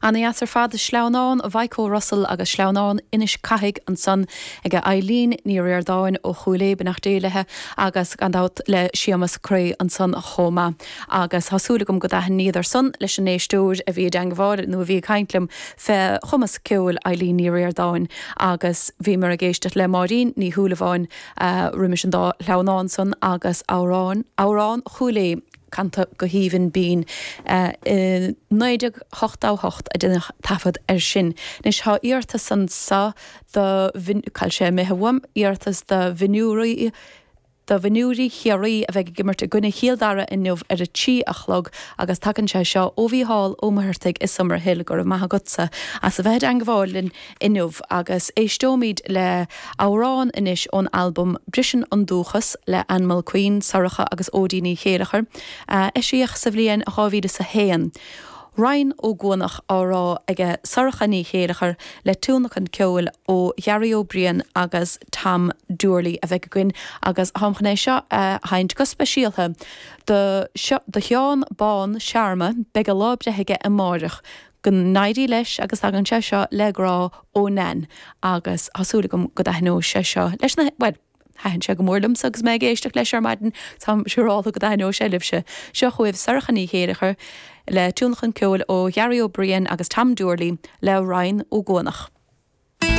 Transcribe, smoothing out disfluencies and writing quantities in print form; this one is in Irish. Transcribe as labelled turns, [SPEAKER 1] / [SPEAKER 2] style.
[SPEAKER 1] Ana-dheas ar fad, Sleamhnán Mhaidhc Russell agus Sleamhnán Inis Cathaigh ansan ag Eileen Ní Ríordáin ó Chúil Aodha, beannacht Dé léithe, agus gan dabht le Séamus Creagh ansan chomh maith. Agus tá súil agam go dtaithníodar san leis an éisteoir a bhí i dteangmháil nó a bhí ag caint liom fé chumas ceoil Eileen Ní Ríordáin agus bhíomar ag éisteacht le Máirín Ní Shúilleabháin roimis an dá shleamhnán san agus amhrán, Amhrán Chúil Aodha. canta go haoibhinn binn. I 1988 a deineadh taifead air sin. Anois tá iarratas anso do, cá bhfuil sé imithe uaim, iarratas do mhionúirí, do mhionúirí Chiarraí a bheidh ag imirt i gcoinne Chill Dara inniu ar a 3 a chlog agus tagann sé seo ó Mhícheál Ó Muircheartaigh i Summerhill. Go raibh maith agatsa as a bheith i dteangmháil linn inniu agus éisteoimid le amhrán anois ón albam Briseann an Dúchas le Ann Mulqueen, Sorcha agus Óidín Ní Chéilleachair, a eisíodh sa bhliain 2001. Ryan Ó Guanach á rá aige Sorcha Ní Chéilleachair le tionlacan ceoil ó Ghearaí Ó Briain agus Tom Doorley a bheidh againn agus táim chun é seo a sheinnt go speisialtha do do Sheán Bán Sharma, beidh a lá breithe aige amáireach. Go n-éirí leis agus tagann sé seo le grá ó Nan agus tá súil agam go dtaitneoidh sé seo leis na, bhuel, thaitin sé go mór liomsa agus mé ag éisteacht leis ar maidin, táim siúrálta go dtaitneoidh sé libhse. Seo chugaibh Sorcha Ní Chéilleachair le tionlacan ceoil ó Ghearaí Ó Briain agus Tom Doorley le Ryan Ó Guanach.